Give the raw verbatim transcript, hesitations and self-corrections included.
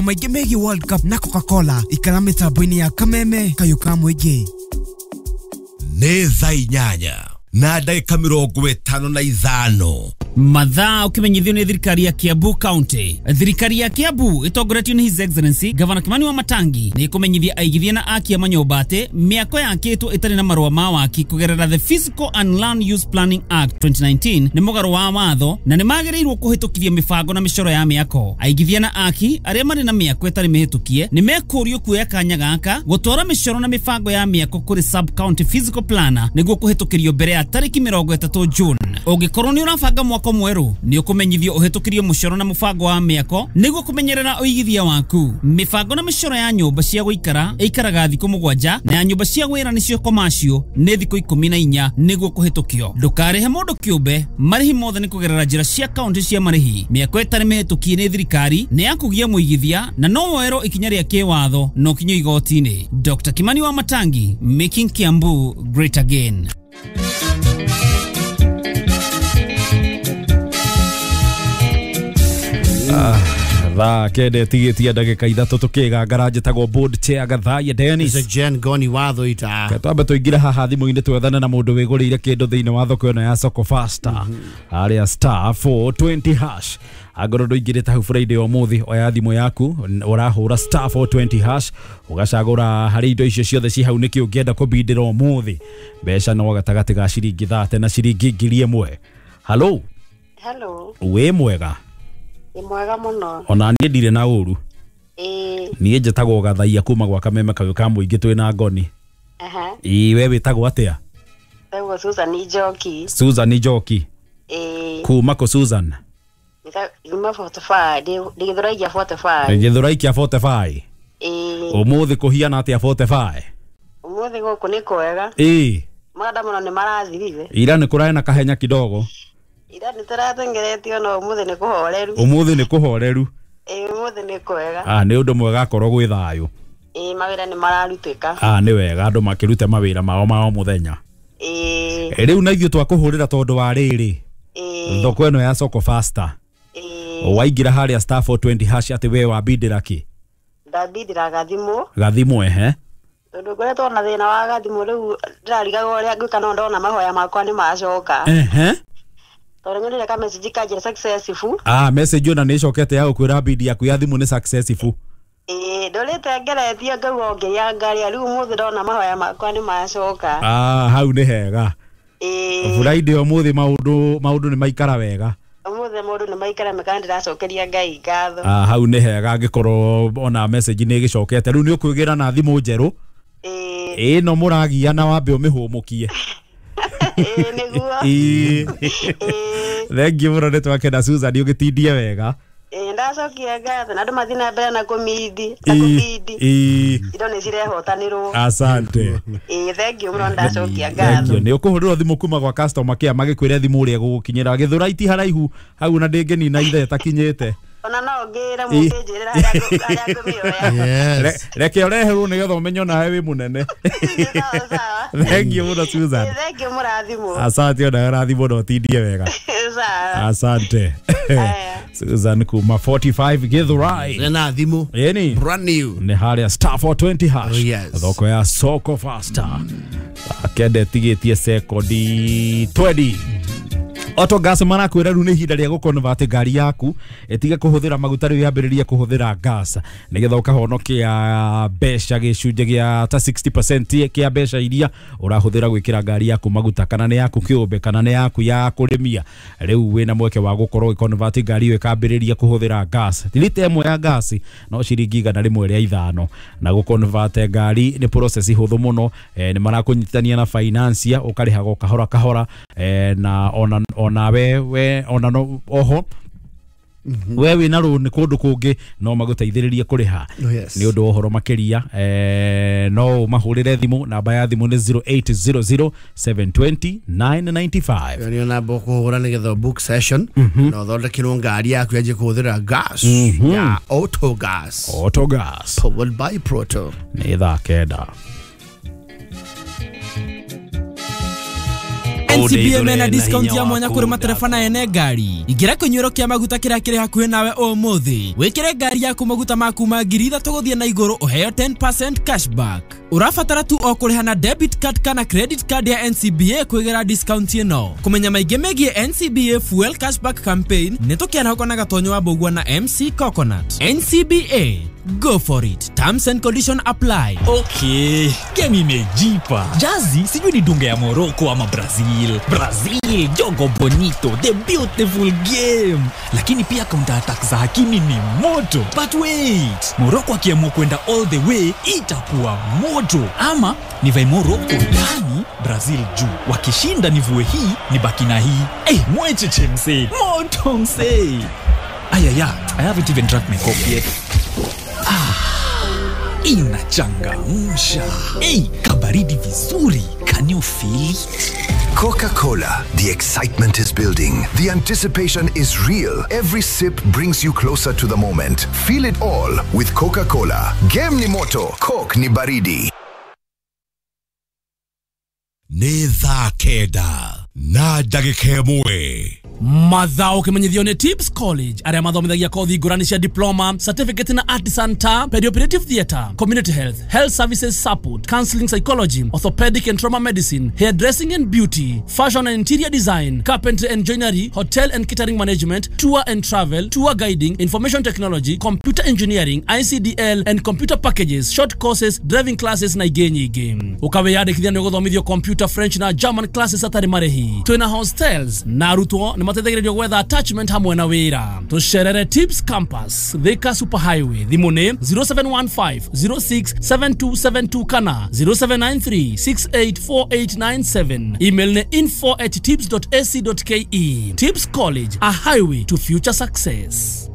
Maingĩ megiĩ World Cup na Coca-Cola ikara mĩtambo-inĩ ya Kameme kayũ ka mũingĩ. Nĩ thaa inyanya na ndagĩka mĩrongo ĩtano na ithano. Mathaa ukimenyithio nĩ thirikari ya Kiambu County. Thirikari ya Kiambu ĩtongoretio nĩ His Excellency Governor Kimani wa Matangi nĩ ĩkũmenyithia aigithia na aki a manyũmba atĩ mĩako yakĩtwo ĩtarĩ na marũa ma waki kũgerera the Physical and Land Use Planning Act twenty nineteen nĩ mũgarũ wa watho na nĩ magĩrĩirwo kũhĩtũkithia mĩbango na mĩcoro ya mĩako. Aigithia na aki arĩa marĩ na mĩako ĩtarĩ mĩhĩtũkie nĩ mekũrio kuoya kanya gaka gũtwara mĩcoro na mĩbango ya mĩako kũrĩ sub county physical planner nĩguo kũhĩtũkĩrio mbere ya tarĩki mĩrongo ĩtatũ June. Ũngĩkorwo nĩ ũrabanga mwako mwerũ nĩ ũkũmenyithio ũhĩtũkĩrio mũcoro na mũbango wa mĩako nĩguo kũmenyerera ũigithia waku. Mĩbango na mĩcoro ya nyũmba cia gũikara ĩikaraga thikũ mũgwanja na ya nyũmba cia wĩra nĩcio commercial nĩ thikũ ikũmi na inya nĩguo kũhĩtũkio. Ndũkarĩhe mũndũ kĩũmbe, marĩhi mothe nĩ kũgerera njĩra cia kaunti cia marĩhi. Mĩako ĩtarĩ mĩhĩtũkie nĩ thirikari nĩ ya kũgia mũigithia na no woerwo ikinya rĩa kĩwatho no kinyo igoti-inĩ. Doctor Kimani wa Matangi, making Kiambu great again. Thaa kenda ĩtigĩtie ndagĩka ithatũ tũkĩgangara njĩtagwo board chair Gathaiya Dennis. Jen Goni watho ita. Twambe tũingĩre haha thimũ-inĩ twethane na mũndũ wĩgũrĩire kĩndũ thĩinĩ wa thoko ĩno ya Soko Faster harĩa star four twenty hash. Angorwo ndũingĩrĩte hau Friday ũmũthĩ oya thimũ yaku ũrahũra star four twenty hash ũgacagũra harĩ indo icio ciothe ci hau nĩkĩ ũngĩenda kũbindĩra ũmũthĩ. Mbeca no gatagatĩ ga ciringi thate na ciringi ngiri ĩmwe. Hello. Hello. Wĩ mwega? Nĩ mwega mũno. Ona niĩ ndirĩ na ũru. Ĩĩ. Niĩ njĩtagwo Gathaiya kuma gwa Kameme kayũ ka mũingĩ twĩ na Ngoni. Aha. Ĩĩ we wĩtagwo atĩa? Wĩtagwo Susan Njoki. Susan Njoki. Ĩĩ. Kuma kũ Susan? Kuma forty-five, ndĩ Gĩthũrai kĩa forty-five. Gĩthũrai kĩa forty-five. Ĩĩ. Ũmũthĩ kũhiana atĩa forty-five? Ũmũthĩ gũkũ nĩ kwega. Ĩĩ. Maandamano nĩ marathirire. Ira nĩ kũrarĩ na kahenya kidogo. Ira nĩ tũratengeretio no ũmũthĩ nĩ kũhoreru. Ũmũthĩ nĩ kũhoreru. Ĩĩ ũmũthĩ nĩ kwega. Ah nĩ ũndũ mwega akorwo gwĩ thayũ. Ĩĩ mawĩra nĩ mararutĩka. Ah nĩ wega andũ makĩrute mawĩra mao ma o mũthenya. Ĩĩ. Rĩu na ithuĩ twakũhũrĩra tondũ wa rĩrĩ. Ĩĩ. Thoko ĩno ya Soko Faster. Ĩĩ. Waingĩra harĩa star four twenty hash atĩ we wambindĩra kĩ? Ndambindĩra gathimũ. Gathimũ ehe. Tondũ ngoretwo na thĩna wa gathimũ rĩu ndĩrarigagwo ũrĩa ngwĩka no ndona mahoya makwa nĩ macoka. Ehe. Tondũ nyonire ka message kanjĩra successful. Ah message ona nĩ ĩcokete ya gũkwĩra bidi yaku ya thimũ nĩ successful. Ĩĩ ndũrĩte ngeretie ngauga ũngĩangaria rĩu ũmũthĩ ndona mahoya makwa nĩ macoka. Ah hau nĩ hega. Ĩĩ. Friday ũmũthĩ maũndũ maũndũ nĩ maikara wega. Ũmũthĩ maũndũ nĩ maikara mega ndĩracokeria Ngai ngatho. Ah hau nĩ hega angĩkorwo ona message nĩ ĩgĩcokete rĩu nĩ ũkwĩgĩra na thimũ njerũ. Ĩĩ. Ĩĩ no mũragia na wambe ũmĩhũmũkie. Ĩĩ nĩguo. Ĩĩ. Thank you mũno nĩ twakena Susan ũgĩtindie wega. Ĩĩ ndacokia ngatho na andũ mathiĩ na mbere na kũmindi na kũbindi. Ĩĩ. Indo nĩ cirehotanĩrwo. Asante. Ĩĩ thank you mũno ndacokia ngatho. Thank you. Nĩ ũkũhũrĩrwo thimũ kuma gwa customer care magĩkwĩre thimũ ũrĩa ĩgũgũkinyĩra. Gĩthũrai ti haraihu hau na ndĩngĩnina ithe ĩtakinyĩte. Ona no ngĩre mũngĩnjĩrĩra harĩa ngũmĩoya. Yes. Reke ũreherwo nĩgetha ũmenye onawe wĩ mũnene. Thank you mũno Susan. Thank you mũrathimwo. Asante ona ũrathimwo na ũtindie wega. Sawa. Asante. Susan kuma forty-five Githurai. Na thimũ. Yeni. Brand new. Nĩ harĩa star four twenty hash. Oh, yes. Thoko ya Soko Faster. Akende tigĩtie sekondi twenty. Autogas marakwĩra rĩu nĩ ihinda rĩa gũconvert ngari yaku ĩtige kũhũthĩra maguta rĩu yambĩrĩrie kũhũthĩra gas nĩgetha ũkahonokia mbeca gĩcunjĩ gĩa ta sixty percent kĩa mbeca iria ũrahũthĩra gwĩkĩra ngari yaku maguta kana nĩ yaku kĩũmbe kana nĩ yaku ya kũrĩmia. Rĩu wĩna mweke wa gũkorwo ũgĩconvert ngari ĩyo ĩkambĩrĩria kũhũthĩra gas. Lita ĩmwe ya gas no ciringi igana rĩmwe rĩa ithano na gũconvert ngari nĩ process hũthũ mũno. Nĩ marakũnyitithania na financier ũkarĩhaga kahora kahora na ona ona we we ona no oho we wina rũni kũndũ kũngĩ no magũteithĩrĩrie kũrĩha. Nĩ ũndũ wa ũhoro makĩria eh, no mahũrĩre thimũ namba ya thimũ nĩ zero eight zero zero seven two zero nine nine five. Nĩ namba ũkũhũra nĩgetha book session na ũthondekerwo ngari yaku yanjie kũhũthĩra gas ya auto gas. Auto gas powered by Proto. Nĩ thaa kenda. N C B A mena discount ya mwanya kuri matereba na ene ngari. Ingĩra kĩnyuĩro kĩa maguta kĩrĩa kĩrĩ hakuhĩ nawe ũmũthĩ. Wĩkĩre ngari yaku maguta ma kuma ngiri ithatũ gũthiĩ na igũrũ ũheo ten percent cashback. Ũrabatara tu o kũrĩha na debit card kana credit card ya N C B A kwĩgĩra discount ĩno. Kũmenya maingĩ megiĩ N C B A Fuel Cashback Campaign nĩ tũkĩarahũka na Gatonyo wa Mbũgua na M C Coconut. N C B A, go for it. Terms and conditions apply. Okay, game imejipa. Jazi sijui ni dunga ya Morocco ama Brazil. Brazil, jogo bonito, the beautiful game. Lakini pia counter attack za Hakimi ni moto. But wait, Morocco akiamua kwenda all the way itakuwa moto. Ama nivae Morocco ndani, Brazil juu. Wakishinda nivue hii, nibaki na hii. Eh, hey, mwecheche msee. Moto msee. Ayaya, I haven't even drank my coffee yet. Ah, inachangamsha. Hey, kabaridi vizuri. Can you feel it? Coca-Cola. The excitement is building. The anticipation is real. Every sip brings you closer to the moment. Feel it all with Coca-Cola. Game ni moto, Coke ni baridi. Nĩ thaa kenda na ndagĩka ĩmwe. Mathao kimenyithio ni Tips College aria mathomithagia kothi ngurani cia diploma, certificate na artisan ta perioperative theatre, community health, health services support, counseling psychology, orthopedic and trauma medicine, hairdressing and beauty, fashion and interior design, carpentry and joinery, hotel and catering management, tour and travel, tour guiding, information technology, computer engineering, I C D L and computer packages, short courses, driving classes na ingĩ nyingĩ. Ukawiyandĩkithia nĩ ũgũthomithio computer, French na German classes atarĩ marĩhi. Twĩna hostels na arutwo nĩ mateithagĩrĩrio gwetha attachment hamwe na wĩra. Tũcerere Tips Campus, Thika Super Highway. Thimũ nĩ zero seven one five zero six seven two seven two kana zero seven nine three six eight four eight nine seven. Email nĩ info at tips dot a c dot k e. Tips College, a highway to future success.